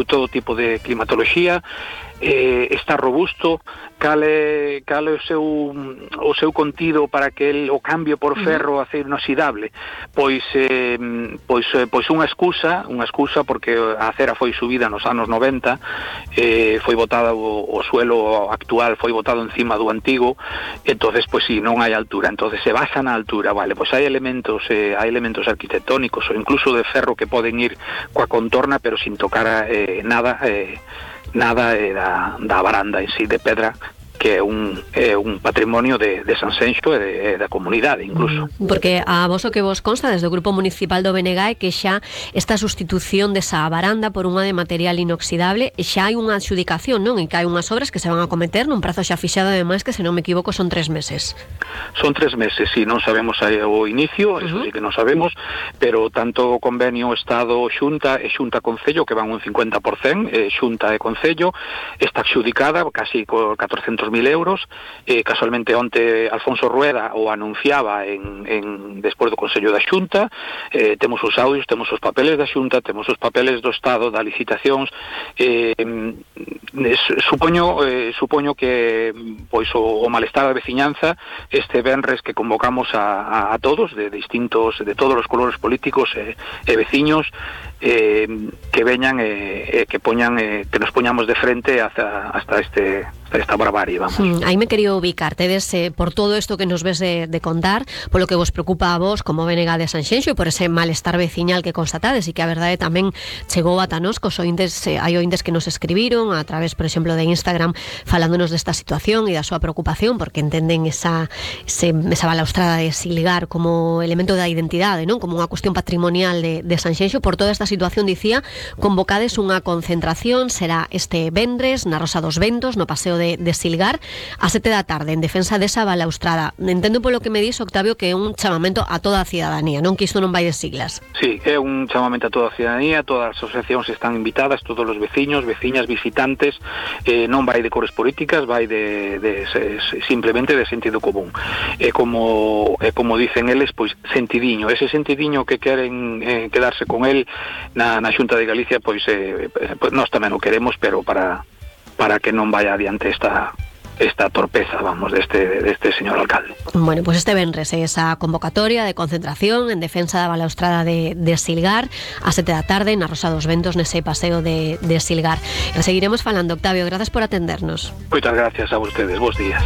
todo tipo de climatoloxía, está robusto. Cal é o seu contido para que o cambio por ferro a acero inoxidable? Pois unha excusa porque a acera foi subida nos anos 90, foi botada o suelo actual foi botado encima do antigo, entonces pois si non hai altura, entonces se basa na altura, vale, pois hai elementos arquitectónicos ou incluso de ferro que poden ir coa contorna pero sin tocar nada da varanda en sí de pedra, que é un patrimonio de Sanxenxo e da comunidade incluso. Porque a vos o que vos consta desde o Grupo Municipal do BNG é que xa esta sustitución desa varanda por unha de material inoxidable xa hai unha adxudicación, non? E que hai unhas obras que se van a cometer nun prazo xa fixado, ademais, que se non me equivoco son 3 meses. Son 3 meses, si non sabemos o inicio, eso sí que non sabemos, pero tanto o convenio Estado-Xunta e Xunta-Concello, que van un 50%, Xunta e Concello, está adxudicada casi co 400.000 euros. Casualmente onte Alfonso Rueda o anunciaba despois do Consello da Xunta. Temos os audios, temos os papeles da Xunta, temos os papeles do Estado, das licitacións. Supoño que pois o malestar da veciñanza este venres que convocamos a todos de todos os colores políticos e veciños, que veñan que nos poñamos de frente hasta esta barbarie, vamos. Aí me quería ubicar, tedes por todo isto que nos ves de contar, polo que vos preocupa a vos como BNG de Sanxenxo e por ese malestar veciñal que constatades e que a verdade tamén chegou ata nós, cos ointes, hai ointes que nos escribiron a través, por exemplo, de Instagram falándonos desta situación e da súa preocupación porque entenden esa balaustrada de Silgar como elemento da identidade, non? Como unha cuestión patrimonial de Sanxenxo. Por toda esta situación, dicía, convocades unha concentración, será este venres na Rosa dos Ventos, no Paseo de Silgar, a 7 da tarde, en defensa desa balaustrada. Entendo polo que me dis, Octavio, que é un chamamento a toda a cidadanía, non? Que isto non vai de siglas. Sí, é un chamamento a toda a cidadanía, todas as asociacións están invitadas, todos os veciños, veciñas, visitantes, non vai de cores políticas, vai simplemente de sentido común. É como dicen eles, pois sentidiño, ese sentidiño que queren quedarse con el na Xunta de Galicia, pois nós tamén o queremos, pero para que non vaya adiante esta torpeza, vamos, deste señor alcalde. Bueno, pues este venres esa convocatoria de concentración en defensa da balaustrada de Silgar a 7 da tarde na Rosa dos Ventos, nese paseo de Silgar. E seguiremos falando, Octavio, grazas por atendernos. Moitas gracias a vostedes, bons días.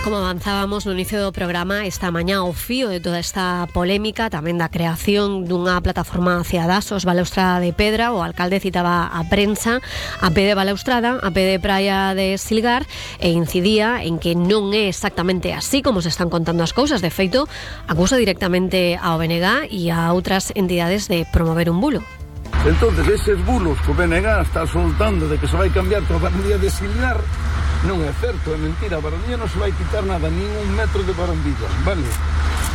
Como avanzábamos no inicio do programa, esta mañá o fío de toda esta polémica, tamén da creación dunha plataforma hacia Dasos, balaustrada de pedra, o alcalde citaba a prensa a pé de balaustrada, a pé de praia de Silgar, e incidía en que non é exactamente así como se están contando as cousas. De feito, acusa directamente ao BNG e a outras entidades de promover un bulo. Entonces, eses bulos que o BNG está soltando de que se vai cambiar toda a barandilla de Silgar non é certo, é mentira. A barandilla non se vai quitar nada, nin un metro de barandilla, vale?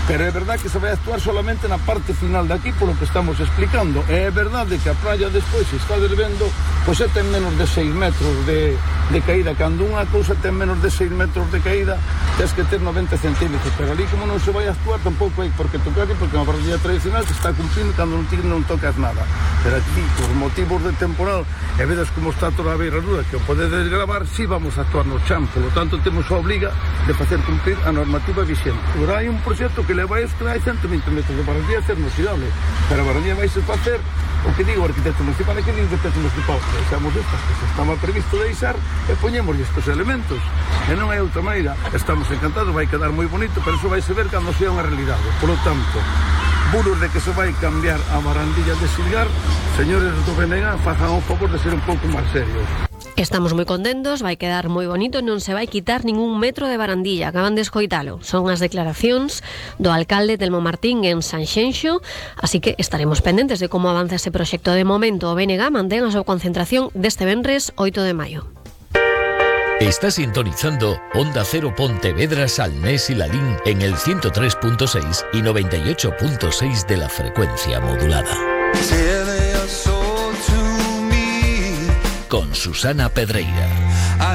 Pero é verdade que se vai actuar solamente na parte final de aquí, polo que estamos explicando. É verdade que a praia despois se está desvendo, pois ten menos de 6 metros de caída. Cando unha cousa ten menos de 6 metros de caída, tens que ter 90 centímetros. Pero ali, como non se vai actuar, tampouco hai por que tocar, porque é unha barandilla tradicional que está cumplindo cando non tocas nada. Pero aquí, por motivos de temporal, e vedes como está toda a beirarura, que o podedes gravar, si vamos a actuar no chan. Por lo tanto, temos a obriga de facer cumprir a normativa vigente. Agora hai un proxecto que leva isto, hai 120 metros de barandilla a ser inoxidable, pero a barandilla vai se facer o que digo o arquitecto municipal, é que nin arquitecto municipal deixamos estas que se estaba previsto deixar e poñemos estes elementos, e non hai outra maneira. Estamos encantados, vai quedar moi bonito, pero iso vai se ver cando sea unha realidade. Por lo tanto, bulos de que se vai cambiar a barandilla de Silgar, señores do BNG, fajan o favor de ser un pouco máis serios. Estamos moi contentos, vai quedar moi bonito, non se vai quitar ningún metro de barandilla. Acaban de escoitalo. Son as declaracións do alcalde Telmo Martín en Sanxenxo, así que estaremos pendentes de como avanza ese proxecto. De momento, o BNG mantén a súa concentración deste venres 8 de maio. Está sintonizando Onda Cero Pontevedra, Salnés y Lalín en el 103.6 y 98.6 de la frecuencia modulada. Con Susana Pedreira.